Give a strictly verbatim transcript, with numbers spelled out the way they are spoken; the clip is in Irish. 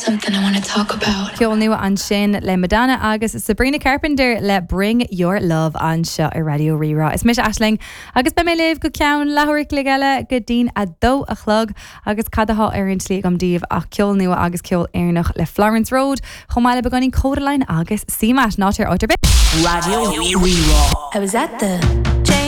something I want to talk about. Ceol nua ansin le Madonna agus Sabrina Carpenter le Bring Your Love anseo ar Raidió Rí-Rá. Is mise Aisling agus beidh mé libh go ceann leathuair an chloig eile go dtí'n a dó a chlog agus cad atá ar an tslí agam daoibh ach ceol nua agus ceol Éireannach le Florence Road chomh maith le beagáinín Kodaline agus CMAT ná téir áit ar bith. Raidió Rí-Rá. I was at the